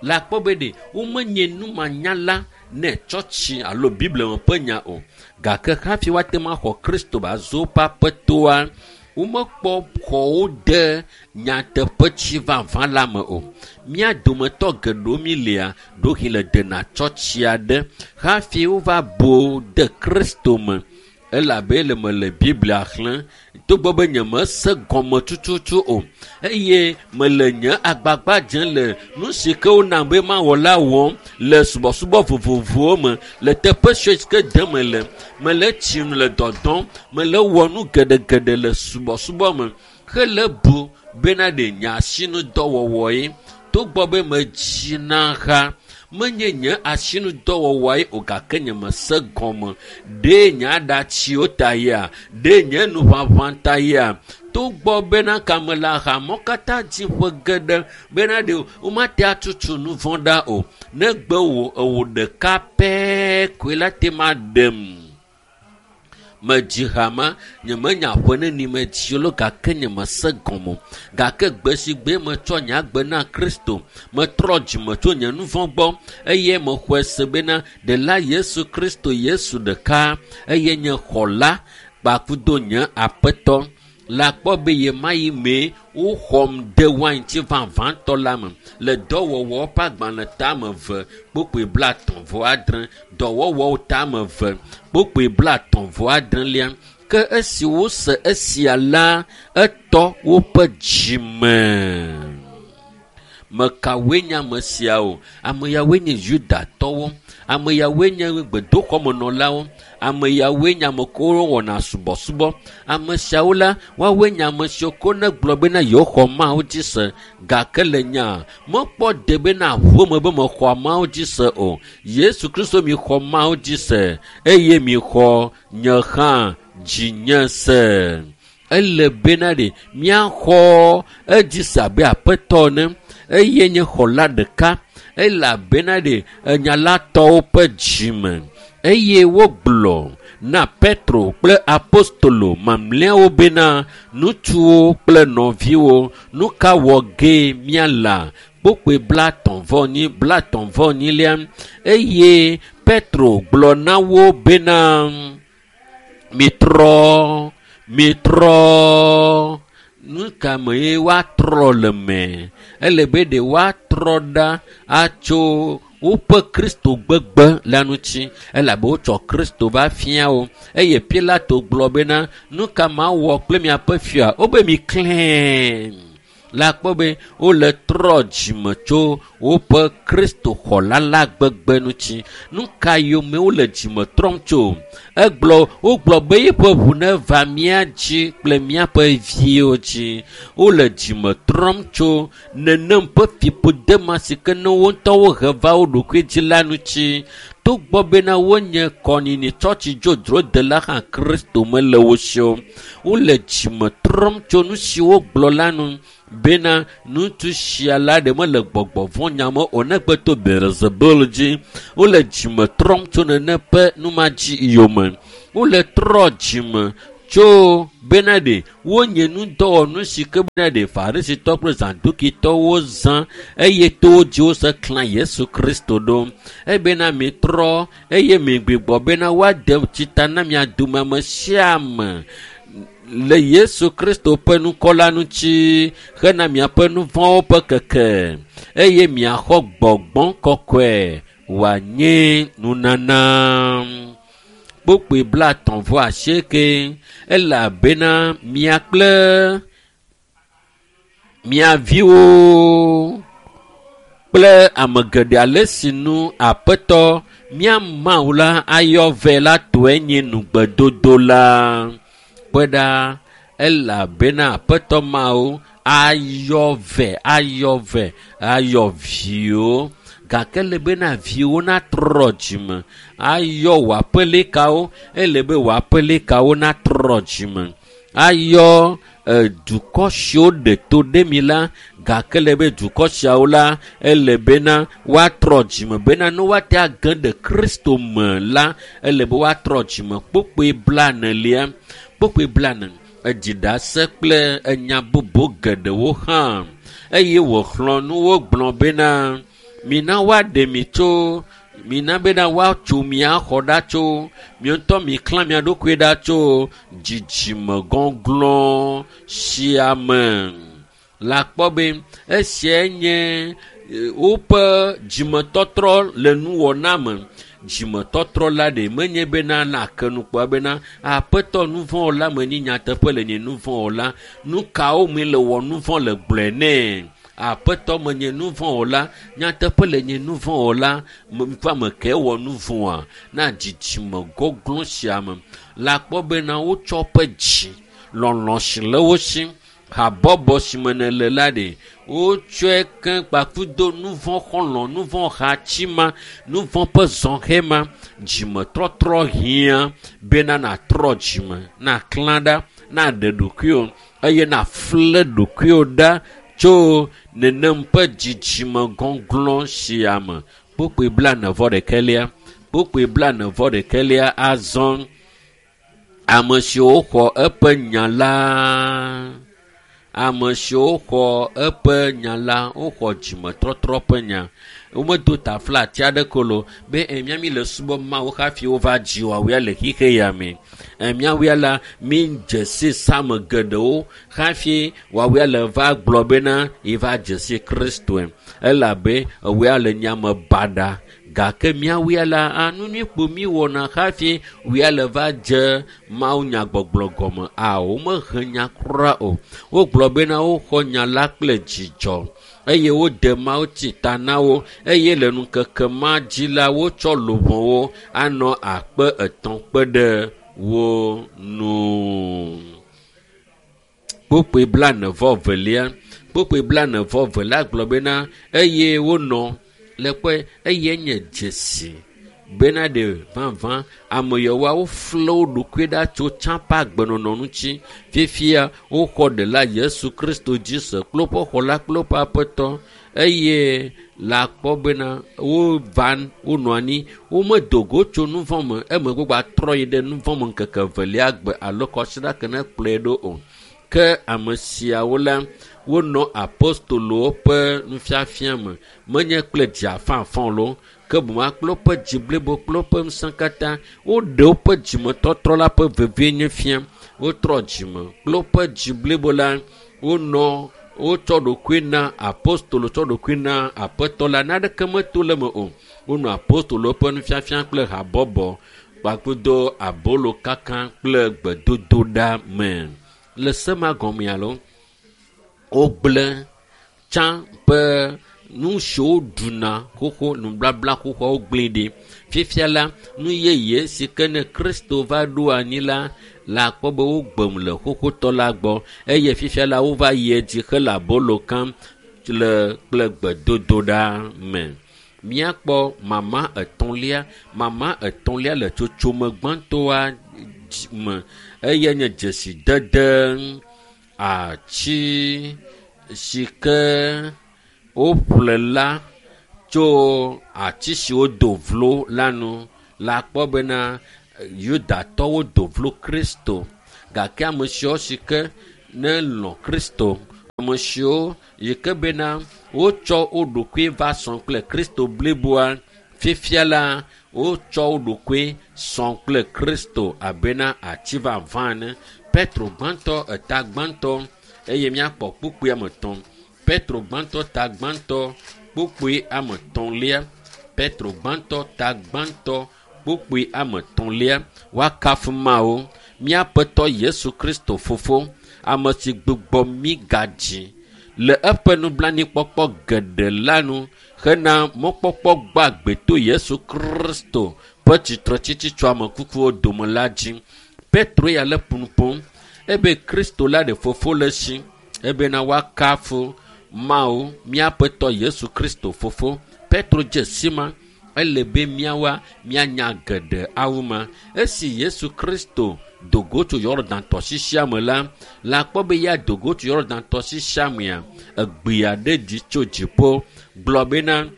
Le akpɔ be ɖe womenye numanyala ne tsɔtsi alo Biblia me ƒe nya o. Gake hafi woate ŋu axɔ Kristo be azu woƒe aƒetoa, womekpɔ xɔwo de nyateƒetsi vavã la me o. Mía dometɔ geɖewo mi lia ɖohi le dena tsɔtsi aɖe hafi wova bo de Kristo me. Elabe le mele Biblia xlẽm togbɔ be nyemese gɔme tututu o eye mele nye agbagba dzem le nu si ke wonam be mawɔ la wɔm le subɔsubɔ vovovowo me le teƒe sue si ke dem mele. Mele tsi nu le dɔdɔm, mele wɔ nu geɖegeɖe le subɔsubɔ me hele bu bena ɖe nye asinudɔwɔwɔ ye. Togbɔ be medzina ha menye nye asinudɔwɔwɔe o gake nye mese gɔme. Ɖe nye aɖatsiwo ta yea? Ɖe nye nuʋaʋã ta yea? Togbɔ bena kame le ahamɔ katã dzi ƒe geɖe bena ɖe womate atutu nu vɔ̃ ɖa o. Negbe wò ewò ɖeka pɛ koe la te ma ɖem. Medzi ha ma, nyemenya ƒe neni medzi lo gake nyemese gɔme o. Gake gbe si gbe metsɔ nye agbe na Kristo, metrɔ dzime tso nye nu vɔ̃ gbɔ eye mexɔe se bena ɖela Yesu Kristo Yesu ɖeka eye nye xɔla kpakudo nye aƒetɔ. Le akpɔ be ɣemaɣi mee woxɔm de waintsi vavãtɔ la me le dɔwɔwɔ ƒe agbalẽ tame eve kpokpoe blaetɔ̃ vɔ adre, dɔwɔwɔwo tame eve kpokpoe blaetɔ̃ vɔ adrelia. Ke esi wose esia la, etɔ woƒe dzime. Mekawoe nye ame siawo? Ame yawoe nye Yudatɔwo, ame yawoe nye gbedoxɔmenɔlawo, ame yawoe nye ame kewo wɔna subɔsubɔ. Ame siawo la, woawoe nye ame siwo ko ne gblɔ bena yewoxɔ Mawu dzi se. Gake le nya mekpɔ de bena ʋume be mexɔ Mawu dzi se o. Yesu Kristo mi xɔ Mawu dzi se eye mi xɔ nye hã dzinye se. Ele bena ɖe míaxɔ edzi se abe aƒetɔ ene eye nye xɔla ɖeka elabena ɖe enya la tɔwo ƒe dzime. Eye wogblɔ na Petro kple apostolo mamlɛawo bena ŋutsuwo kple nɔviwo, nu ka wɔ ge míala? Kpokpoe blaetɔ̃ vɔ enyi, blaetɔ̃ vɔ enyilia. Eye Petro gblɔ na wo bena mitrɔ, mitrɔ. Nu ka mee woatrɔ le me? Ele be ɖe woatrɔ ɖa atso woƒe Kristo gbegbe la ŋuti elabe wotsɔ Kristo va fia wo. Eye Pilato gblɔ bena nu ka mawɔ kple miaƒe fia? Wobe miklẽ. Le akpɔ be wole trɔ dzime tso woƒe Kristo xɔla la gbegbe ŋuti. Nu ka yome wole dzime trɔm tso? Egblɔ wogblɔ be yeƒe ʋu neva mía dzi kple míaƒe viwo dzi. Wole dzime trɔm tso nenem ƒe fiƒode ma si ke ne wo ŋutɔwo he va wo ɖokui dzi la ŋuti. Togbɔ bena wonye kɔnyinyi tsɔtsi dzodzrodela hã Kristo mele wo si o. Wole dzime trɔm tso nu si wogblɔ la nu bena ŋutsu sia la ɖe mele gbɔgbɔ vɔ̃ nyame o negbe to Beelzebul dzi. Wole dzime trɔm tso nene ƒe numa dzi yome. Wole trɔ dzime tso bena ɖe wonye nudɔwɔnu si ke bena ɖe Farisitɔ kple Zadukitɔwo zã eye to wo dzi wose klã Yesu Kristo ɖo. Ebena mitrɔ eye migbugbɔ bena woade tsita na mia dome ame sia ame le Yesu Kristo ƒe ŋkɔ la ŋuti hena miaƒe nu vɔ̃wo ƒe keke eye miaxɔ gbɔgbɔ kɔkɔe wòanye nunana. Kpukpui blaetɔ̃ vɔ asieke elabena mia kple mia viwo kple ame geɖe ale si nu Aƒetɔ mía Mawu la ayɔ vɛ la tɔe nye nugbedodo la. Kpɔe ɖa elabena Aƒetɔ Mawu ayɔ vɛ ayɔ vɛ ayɔ viwo gake ele bena viwo natrɔ dzime ayɔ wò aƒelikawo ele be wò aƒelikawo natrɔ dzime ayɔ dukɔ siwo ɖe to ɖe mi la gake ele be dukɔ siawo la ele bena woatrɔ dzime bena ne woate age ɖe Kristo me la ele be woatrɔ dzime. Kpukpui blaenelia kpukpui blaene edzi ɖase kple enya bubu geɖewo hã eye wòxlɔ̃ nu wo gblɔ bena mina woaɖe mi tso mina bena woatso mia xɔ ɖa tso mi ŋutɔ miklã mia ɖokui ɖa tso dzidzime gɔglɔ̃ sia me. La kpɔ be esiae nye woƒe dzimetɔtrɔ le nuwɔna me. Dzimetɔtrɔ la ɖe menye bena nake nu kpɔa bena Aƒetɔ nu vɔ̃ wɔla menye nyateƒe le nye nu vɔ̃ wɔla. Nu kawo mi le wɔ nu vɔ̃ le gblɔe nɛ. Aƒetɔ menye nu vɔ̃ wɔla nyateƒe le nye nu vɔ̃ wɔla ƒe ame ke wɔ nu vɔ̃a na dzidzime gɔglɔ̃ sia me. La kpɔ bena wotsɔ woƒe dzi lɔlɔ̃ si le wo si habɔbɔ si me nele la ɖe wotsɔe ke kpakudo nu vɔ̃ xɔlɔ̃ nu vɔ̃ hatsi ma nu vɔ̃ ƒe zɔhɛ ma dzimetɔtrɔ hiã bena natrɔ dzime naklã ɖa naɖe ɖokuiwò eye nafle ɖokuiwò ɖa tso nenem ƒe dzidzime gɔglɔ̃ sia me. Kpukpui blaene vɔ ɖekɛlia kpukpui blaene vɔ ɖekɛlia azɔ ame siwo xɔ eƒe nya la ame siwo xɔ eƒe nya la woxɔ dzimetɔtrɔ ƒe nya. Womedo taflatsi aɖeke o be mía mi le subɔ Mawu hafi wova dzi woawoe le xixe ya me. Míawoe la mi dze si same geɖewo hafi woawoe le va gblɔ bena yeva dze si Kristoe elabe ewoe le nyame baɖa gake míawoe la nu nyui kpo mi wɔna hafi woe le va dze Mawu nyagbɔgblɔ gɔme. A womehe nya kura o. Wogblɔ bena woxɔ nya la kple dzidzɔ eye wode Mawu tsi ta na wo eye le ŋkeke ma dzi la wotsɔ luʋɔwo anɔ akpe etɔ̃ kpe ɖe wo nu. Kpukpui blaene vɔ velia kpukpui blaene vɔ velia gblɔ bena eye wonɔ le kpɔe eye nye dzesi bena ɖe vavã ame yawoa wofle wo ɖokui ɖa tso tsã ƒe agbenɔnɔ ŋuti. Fifia woxɔ ɖela Yesu Kristo dzi se kple woƒe xɔla kple woƒe aƒetɔ eye la kpɔ bena wova wonɔ anyi womedo go tso nu vɔ̃ me emegbe gbatrɔ yi ɖe nu vɔ̃ me ŋkeke evelia gbe alo kɔsiɖa ke ne kplɔe ɖo o. Ke ame siawo la wonɔ apostolowo ƒe nufiafia me menye kple dzi afãafã loo ke boŋ kple woƒe dzi blibo kple woƒe ŋusẽ katã woɖe woƒe dzimetɔtrɔ la ƒe vevienye fia. Wotrɔ dzime kple woƒe dzi blibo la wonɔ wotsɔ ɖokui na apostolo tsɔ ɖokui na Aƒetɔ la naneke meto le eme o. Wonɔ apostolowo ƒe nufiafia kple habɔbɔ kpakple abolo kaka kple gbedodoɖa me. Le se ma gɔme alo wogblẽ tsã ƒe Nu siwo ɖuna xoxo nublabla xoxoawo gblẽ ɖi. Fifia la, nu yeye si ke ne Kristo va ɖo anyi la, la akpɔ be wogbem le xoxotɔ la gbɔ eye fifia la wova yi edzi hele abolo kam le kple gbedodoɖa me. Míakpɔ mama etɔ̃lia. Mama etɔ̃lia le tsotsome gbãtɔa me eye nye dzesidede atsi si ke woƒle la tso ati si wodo vlo la nu. La kpɔ bena Yudatɔwo do vlo Kristo gake ame siwo si ke ne lɔ̃ Kristo, ame siwo yi ke bena wotsɔ wo ɖokui va sɔ kple Kristo bliboa, fifia la wotsɔ wo ɖokui sɔ kple Kristo abena ati vavã ene. Petro gbãtɔ eta gbãtɔ eye míakpɔ kpukpui ame etɔ̃. Petro gbãtɔ ta gbãtɔ kpukpui ame etɔ̃lia. Petro gbãtɔ ta gbãtɔ kpukpui ame etɔ̃lia. Woakafu Mawu, míaƒetɔ Yesu Kristo fofo, ame si gbugbɔ mí gadzi le eƒe nublanuikpɔkpɔ geɖe la nu hena mɔkpɔkpɔ gbagbe to Yesu Kristo ƒe tsitretsitsi tso ame kukuwo dome la dzi. Petro ya le ƒonu ƒom ebe Kristo la ɖe fofo le esi ebena woakafu Mawu míaƒetɔ Yesu Kristo fofo. Petro dze si ma ele be míawoa míanya geɖe awu ma. Esi Yesu Kristo do go tso Yɔdan tɔsisia me la, la kpɔ be ya do go tso Yɔdan tɔsisia mea, egbe aɖe ɖi tso dziƒo gblɔ bena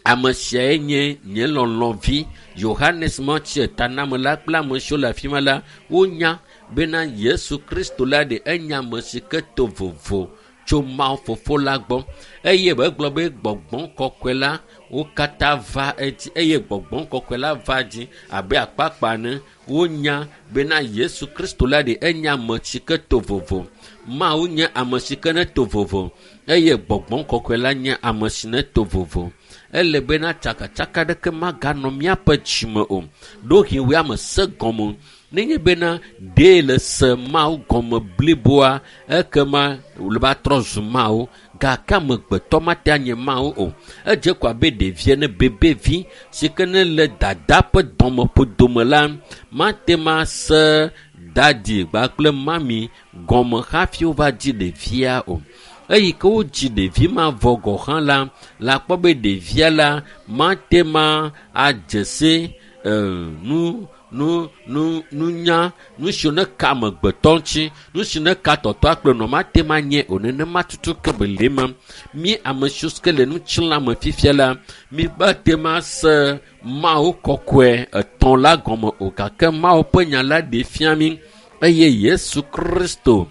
ame siae nye nye lɔlɔ̃vi. Yohanes Mawutsi etanamela kple ame siwo le afi ma la, wonya bena Yesu Kristo la ɖe enya ame si ke to vovo tso Mawu fofo la gbɔ eye egblɔ be gbɔgbɔ kɔkɔe la wo katã va edzi eye gbɔgbɔ kɔkɔe la va dzi abe akpakpa ene. Wonya bena Yesu Kristo la ɖe enya ame si ke to vovo. Mawu nye ame si ke ne to vovo eye gbɔgbɔ kɔkɔe la nye ame si ne to vovo. Ele bena tsakatsaka ɖeke maganɔ míaƒe dzime o. Ɖohi woe ame se gɔme. Nenye bena ɖee le se Mawu gɔme bliboa, ekema wòle va trɔ zu Mawu. Gake amegbetɔ mate anye Mawu o. Edze ko abe ɖevi ene, bebevi si ke ne le dada ƒe dɔmeƒodome la, mate ma se dadi kpakple mami gɔme hafi wova dzi ɖevia o. Eyi ke wodzi ɖevi ma vɔ gɔ hã la, la kpɔ be ɖevia la mate ma adze se nu nu nu nunya nu si ne ka amegbetɔ ŋuti, nu si ne ka tɔtɔa kple nɔ mate ma nye o. Nenema tutu ke be le ma. Mí ame siwo ke le ŋutilã me fifia la, mí mate ma se Mawu kɔkɔe etɔ̃ la gɔme o gake Mawu ƒe nya la ɖe fia mí eye Yesu Kristo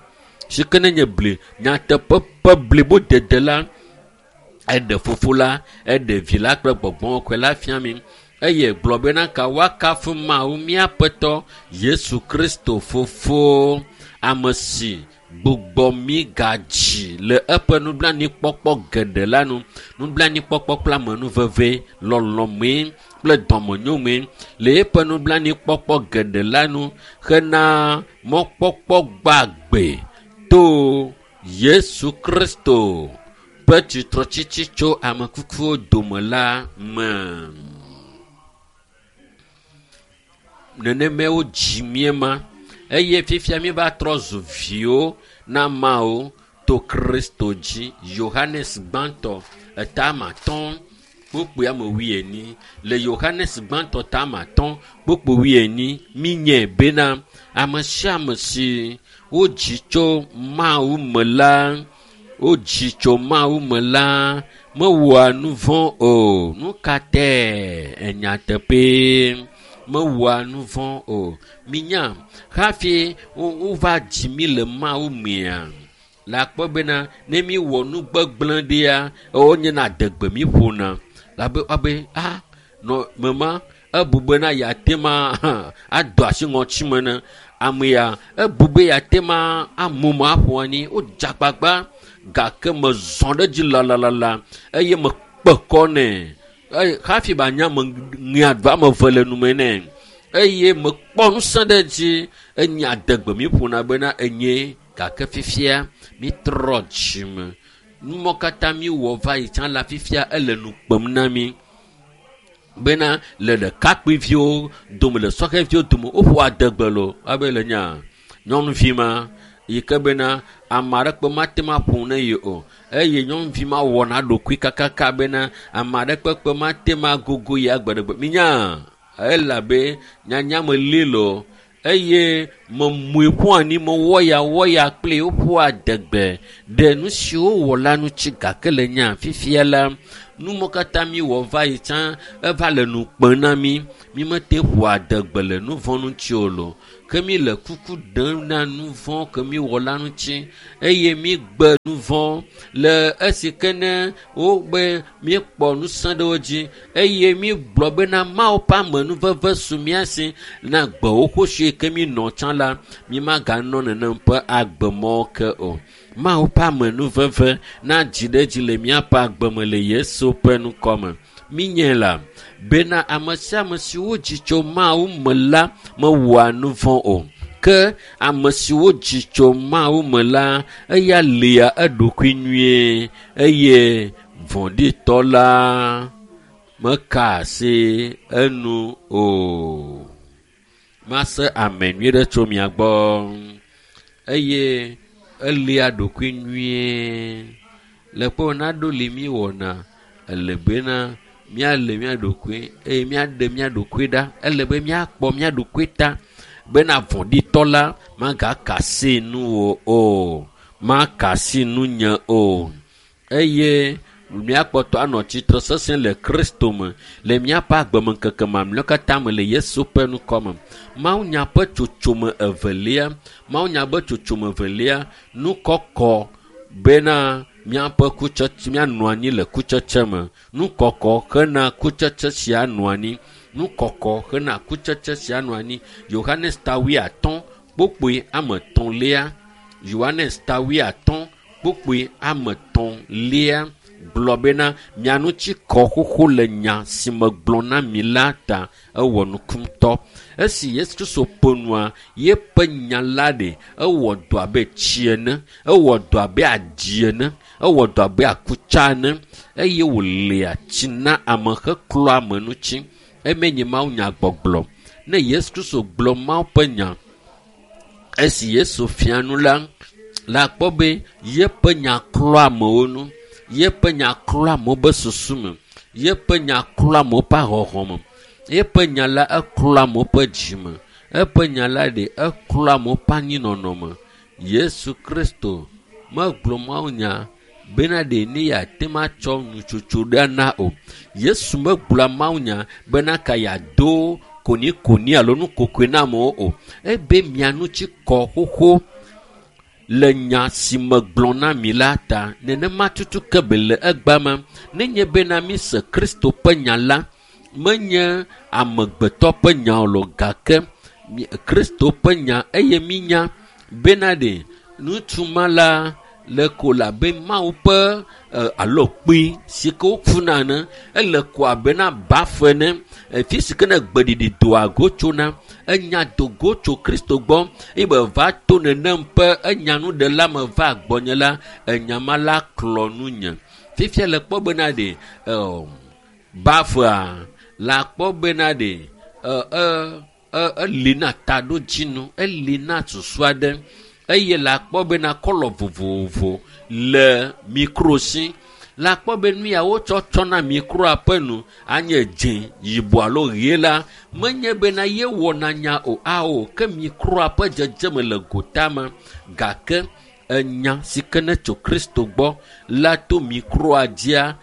si ke ne nye bli nyateƒe ƒe blibodede la, eɖe fofo la, eɖe vi la kple gbɔgbɔ kɔkɔe la fia mí eye gblɔ bena ka woakafu Mawu míaƒetɔ Yesu Kristo fofo, ame si gbugbɔ mí gadzi le eƒe nublanuikpɔkpɔ geɖe la nu. Nublanuikpɔkpɔ kple amenuveve, lɔlɔ̃mee kple dɔmenyomee le eƒe nublanuikpɔkpɔ geɖe la nu hena mɔkpɔkpɔ gbagbe to Yesu Kristo ƒe tsitretsitsi tso ame kukuwo dome la me. Nenemae wodzi mí ema eye fifia míva trɔ zu viwo na Mawu to Kristo dzi. Yohanes gbãtɔ eta ame atɔ̃ kpukpui ame wuienyi. Le Yohanes gbãtɔ ta ame atɔ̃ kpukpui wuienyi míenyae bena ame sia ame si wodzi tso Mawu me la, wodzi tso Mawu me la mewɔa nu vɔ̃ o. Nu ka tae? Enyateƒee mewɔa nu vɔ̃ o. Minya hafi wova dzi mí le Mawu mea, la kpɔ bena ne míwɔ nu gbegblẽ ɖea, wonyena adegbe mí ƒona. Labe woabe a nɔ mema ebu bena yeate ma ado asi ŋɔtime ne ame ya ebu be yeate ma amu ma aƒo anyi. Wodze agbagba gake mezɔ ɖe edzi lalalala eye mekpe kɔ nɛ. Eye hafi ba nya me ŋea do ame eve le nume nɛ eye mekpɔ ŋusẽ ɖe edzi enye adegbe mi ƒona bena enye gake fifia mitrɔ dzime. Numɔ katã mi wɔ va yi tsã la fifia ele nu kpem na mi. Bena le ɖekakpuiviwo dome le sɔhɛviwo dome woƒo adegbe lo abe le nya nyɔnuvi ma yi ke bena ame aɖeke mate ŋu aƒo ne yi o eye nyɔnuvi ma wɔna ɖokui kakaka bena ame aɖeke kpe mate ŋu agogo ya gbeɖegbe minya elabe nyanya me li lo eye memui ƒu anyi mewɔ ya wɔ ya kple woƒo adegbe ɖe nu siwo wɔ la ŋuti gake le nya fifia la numɔ katã mi wɔ va yi tsã eva le nu kpem na mi mi mete ƒo adegbe le nu vɔ̃ ŋuti o lo ke mi le kuku ɖem na nu vɔ̃ ke mi wɔ la ŋuti eye mi gbe nu vɔ̃ le esi ke ne wobe míekpɔ ŋusẽ ɖe wo dzi eye mi gblɔ bena Mawu ƒe amenuveve su mía si na gbewo xoxo ke mi nɔ tsã la mi maganɔ nenem ƒe agbemɔ ke o. Mawu ƒe amenuveve na dzi ɖe dzi le míaƒe agbeme le Yesu ƒe ŋkɔme. Minye la bena ame sia ame si wodzi tso Mawu me la mewɔa nu vɔ̃ o. Ke ame si wodzi tso Mawu me la eya lia eɖokui nyuie eye vɔ̃ɖitɔ la meka asi enu o. Mase ame nyui ɖe tso mia gbɔ eye elia ɖokui nyuie. Le kpɔ naɖo li mi wɔna ele bena míale mía ɖokui eye míaɖe mía ɖokui ɖa. Ele be míakpɔ mía ɖokui ta bena vɔ̃ɖitɔ la magaka asi nuwò o, maka asi nunye o. Eye míakpɔtɔ anɔ tsitre sesẽ le Kristo me le míaƒe agbemeŋkeke mamlɛawo katã me le Yesu ƒe ŋkɔme. Mawunya ƒe tsotsome evelia, Mawunya ƒe tsotsome evelia, nukɔkɔ bena míaƒe kutsetse míanɔ anyi le kutsetse me. Nukɔkɔ hena kutsetse sia nɔ anyi. Nukɔkɔ hena kutsetse sia nɔ anyi. Yohanes ta wuiatɔ̃ kpukpui ame etɔ̃lia. Yohanes ta wuiatɔ̃ kpukpui ame etɔ̃lia gblɔ bena mia ŋuti kɔ xoxo le nya si megblɔ na mi la ta ewɔ nuku ŋutɔ. Esi Yesu Kristo ƒo nua, yeƒe nya la ɖe ewɔ dɔ abe tsi ene, ewɔ dɔ abe aɖi ene, ewɔ dɔ abe akutsa ene eye wòlia tsi na ame heklɔa ame ŋuti. Eme nye Mawu nya gbɔgblɔ. Ne Yesu Kristo gblɔ Mawu ƒe nya, esi Yesu fia nu la, la kpɔ be yeƒe nya klɔa amewo nu. Yeƒe nya klɔa amewo ƒe susu me. Yeƒe nya klɔa amewo ƒe ahɔhɔ me. Yeƒe nya la eklɔa amewo ƒe dzi me. Eƒe nya la ɖe eklɔa amewo ƒe anyinɔnɔ me. Yesu Kristo megblɔ Mawu nya bena ɖe ne yeate ŋu atsɔ nutsotso ɖe ana o. Yesu megblɔa Mawu nya bena ka yeado konikoni alo nukokoe na amewo o. Ebe mia ŋuti kɔ xoxo le nya si megblɔ na mi la ta. Nenema tutu ke be le egbea me. Nenye bena mi se Kristo ƒe nya la, menye amegbetɔ ƒe nya o lo, gake Kristo ƒe nya eye minya bena ɖe ŋutsu ma la le ko le abe Mawu ƒe alo kpui si ke wokuna ene, ele ko abe na bafe ene, fi si ke ne gbeɖiɖi doa go tsona, enya do go tso Kristo gbɔ eye be va to nenem ƒe enya nuɖela me va gbɔnye la, enya ma la klɔ nunye. Fifia le kpɔ bena ɖe, ɛ, bafea la kpɔ bena ɖe, ɛ, ɛ, ɛ, eli na taɖodzinu, eli na susu aɖe eye la kpɔ bena kɔlɔ vovovo le mikro si. La kpɔ be nu ya wotsɔ tsɔna mikroa ƒe nu anye dzĩ, yibɔ alo ɣie la, menye bena ye wɔna nya o, ao, ke mikroa ƒe dzedzeme le gotame gake enya si ke ne tso Kristo gbɔ la to mikroa dzia,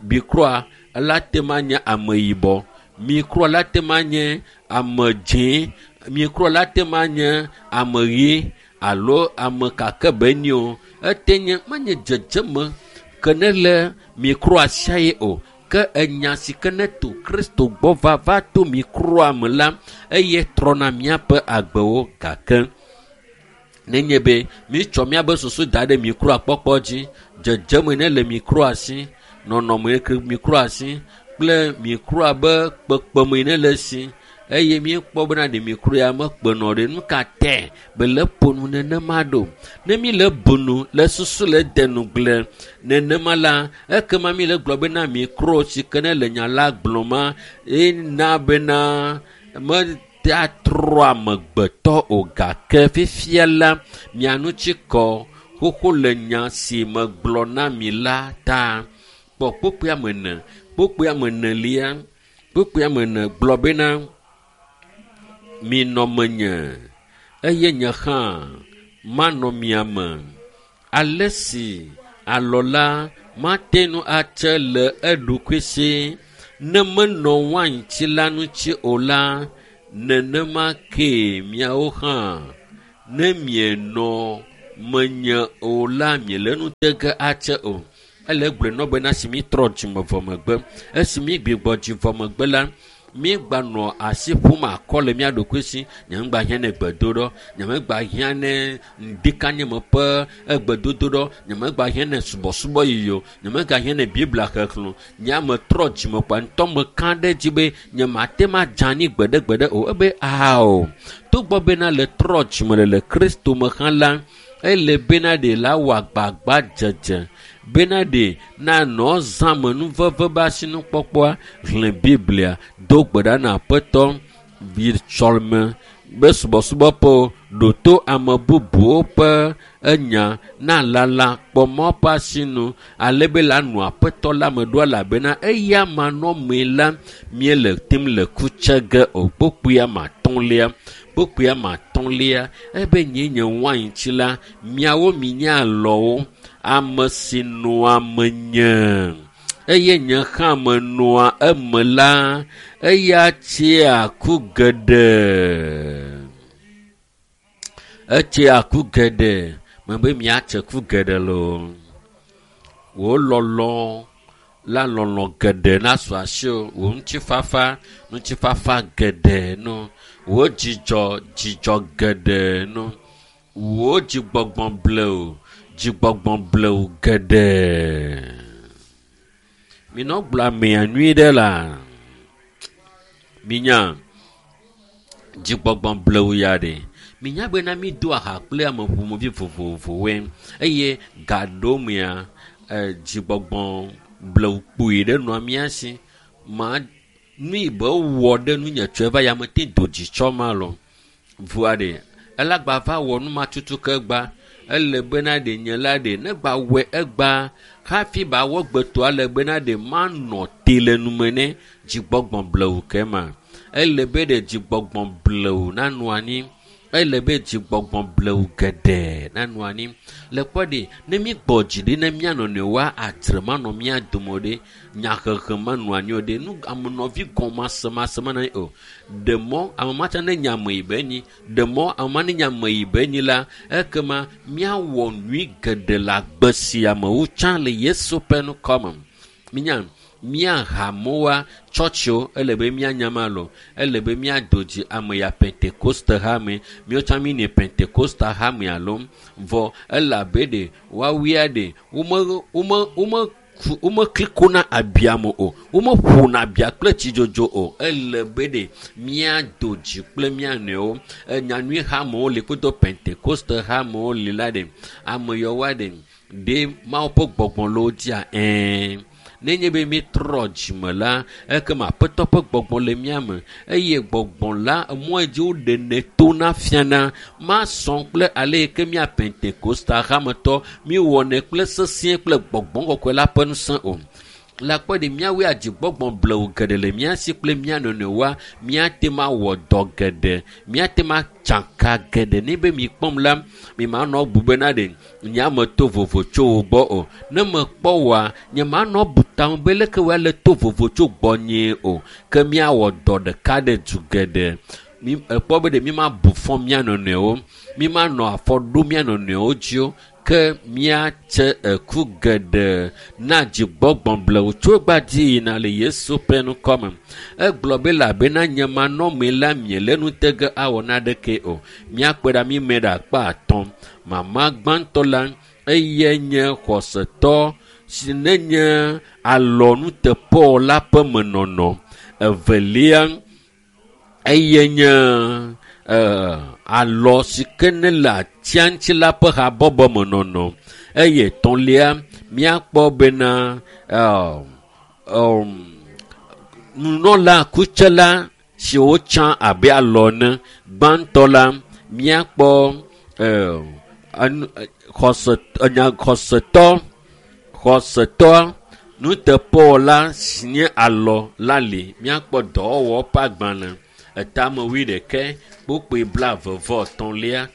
mikroa la te ma nye ame yibɔ, mikroa la te ma nye ame dzĩ, mikroa la te ma nye ame ɣi alo ame kake be nyi o. Ete nye menye dzedzeme ke ne le mikroa sia ye o, ke enya si ke ne to Kristo gbɔ va va to mikroa me la, eye trɔna míaƒe agbewo. Gake nenye be mítsɔ míaƒe susu da ɖe mikroa kpɔkpɔ dzi, dzedzeme ne le mikroa si, nɔnɔme ke mikroa si kple mikroa be kpekpeme ne le si, Eye míekpɔ bena ɖe mikro ya mekpenɔ ɖe nu ka tɛ be le ƒo nu nenema ɖo. Ne mi le bu nu le susu le de nugble nenema la, ekema mi le gblɔ bena mikro si ke ne le nya la gblɔma ena bena metea trɔ amegbetɔ o gake fifia la mia ŋuti kɔ xoxo le nya si megblɔ na mi la ta. Kpɔ kpukpui ame ene, kpukpui ame enelia, kpukpui ame ene gblɔ bena minɔ menye eye nye hã manɔ mia me. Ale si alɔ la mate ŋu atse le eɖokui si ne menɔ waintsi la ŋuti o la, nenema kee miawo hã ne mienɔ menye o la miele nu te ge atse o. Ele gblɔe nɔ bena esi mi trɔ dzime vɔ megbe, esi mi gbigbɔ dzi vɔ megbe la, mi gbanɔ asi ƒom akɔ le mía ɖokui si. Nye ŋgba hiã ne gbedoɖɔ, nye megba hiã ne ŋdikanyeme ƒe egbedodoɖɔ, nye megba hiã ne subɔsubɔ yiyi o, nye megba hiã ne Biblia xexlẽ o. Nye ame trɔ dzime kpa ŋutɔ meka ɖe edzi be nye mate ma dze anyi gbeɖegbeɖe o. Ebe ao, togbɔ bena le trɔ dzime le le Kristo me hã la, ele bena ɖe la wɔ agbagba dzedze bena ɖe nanɔ zãme nuveve be asinukpɔkpɔa, xlẽ Biblia, do gbe ɖa na Aƒetɔ, yi sɔleme be subɔsubɔƒewo, ɖo to ame bubuwo ƒe enya na lala kpɔ mɔ ƒe asinu ale be la nɔ Aƒetɔ la me ɖo elabena eya manɔmee la míele tem le ku tse ge o. Kpukpui ame atɔ̃lia, kpukpui ame atɔ̃lia, ebe nye nye waintsi la, miawo minye alɔwo, ame si nɔa menye eye nye hã menɔa eme la, eya tsea ku geɖe. Etsea ku geɖe. Mebe miatse ku geɖe loo. Wò lɔlɔ la lɔlɔ geɖe nasu asiwò. Wò ŋutifafa, ŋutifafa geɖe no. Wò dzidzɔ, dzidzɔ geɖe no. Wò dzigbɔgbɔ blewu, dzigbɔgbɔ blewu geɖe. Minɔ gblɔ amea nyui ɖe la. Minya dzigbɔgbɔ blewu ya ɖe. Minya bena mi do aha kple ame ƒomevi vovovowoe eye gaɖomea, e, dzigbɔgbɔ blewu kpui ɖe nɔa mía si. Ma nu yi be wɔ ɖe nunye tso eva ya mete do dzitsɔ ma lɔ. Vɔa ɖe, elagba va wɔ nu ma tutu ke gba. Ele bena ɖe nye la ɖe, ne gba wɔe egba hafi ba wɔ gbetoa le bena ɖe manɔ te le nume ne dzigbɔgbɔ blewu ke ma. Ele be ɖe dzigbɔgbɔ blewu nanɔ anyi. Ele be dzigbɔgbɔ blewu geɖe nanɔ anyi. Le kpɔ ɖe, ne mi gbɔ dzi ɖi ne mía nɔnɔewoa, adzre manɔ mía dome o ɖe, nyahehe manɔ anyi o ɖe, nu amenɔvi gɔmasemase manɔ anyi o. Ɖe mɔ ame ma tsã ne nye ame yi be nyi, ɖe mɔ ame ma ne nye ame yi be nyi la, ekema míawɔ nyui geɖe le agbe sia me wu tsã le Yesu ƒe ŋkɔme. Minya, mía hamewoa, tsɔtsiwo, ele be míanya ma lɔ. Ele be míado dzi ame ya Pentekoste hame. Míawo tsã míne Pentekoste hame alo vɔ elabe ɖe woawoea ɖe wome, wome, wome womekli na abia me o, womeƒona abia kple tsidzodzo o. Ele be ɖe míado dzi kple mía nɔewo. Enyanyui hamewo li kudo Pentekoste hamewo li la ɖe ame yawoa ɖe ɖe Mawu ƒe gbɔgbɔ le wo dzia? Ɛ̃. Nenye be míetrɔ dzime la, ekema Aƒetɔ ƒe gbɔgbɔ le mía me eye gbɔgbɔ la emɔ yi dzi woɖenɛ tona fiana masɔ kple ale yi ke mía Pentekoste hametɔ míewɔnɛ kple sesĩe kple gbɔgbɔ kɔkɔe la ƒe ŋusẽ o. Le akpɔ ɖe míawoe adzigbɔgbɔ blewu geɖe le mía si kple mía nɔnɔewoa, míate ŋu awɔ dɔ geɖe, míate ŋu atsaka geɖe. Ne be mikpɔm la, mi manɔ bu bena ɖe nye ame to vovo tso wo gbɔ o. Ne mekpɔ woa, nye manɔ bu tame be leke woa le to vovo tso gbɔnyee o. Ke míawɔ dɔ ɖeka ɖe du geɖe. Mi ekpɔ be ɖe mi ma bu fɔ mía nɔnɔewo, mi ma nɔ afɔ ɖo mía nɔnɔewo dzi o. Ke míatse eku geɖe na dzigbɔgbɔ blewu tso egbadzi yina le Yesu ƒe ŋkɔme. Egblɔ be elabena nye manɔmee la miele nu te ge awɔ naneke o. Míakpe ɖe mi me ɖe akpa atɔ̃. Mama gbãtɔ la, eyae nye xɔsetɔ si nenye alɔnuteƒewɔla ƒe menɔnɔ. Evelia, Eye nye eh, alɔ si ke ne le atia ŋuti la ƒe habɔbɔ me nɔnɔ. Eye etɔ̃lia, míakpɔ bena eh, um, nunɔla kutsela siwo tsã abe alɔ ene. Gbãtɔ la, míakpɔ eh, enu- eh, xɔse enya xɔsetɔ xɔsetɔ nuteƒewɔla si nye alɔ la li. Míakpɔ dɔwɔwɔ ƒe agbalẽ etame wuiɖekɛ kpukpui blaeve vɔ etɔ̃lia.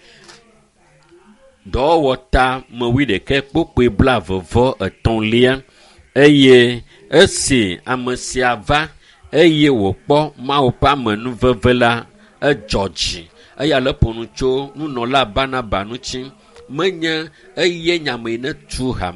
Dɔwɔwɔ ta me wuiɖekɛ kpukpui blaeve vɔ etɔ̃lia eye esi ame sia va eye wòkpɔ Mawu ƒe amenuveve la, edzɔ dzi. Eya le ƒo nu tso nunɔla Barnaba ŋuti. Menye eye nyame yi ne tu hame.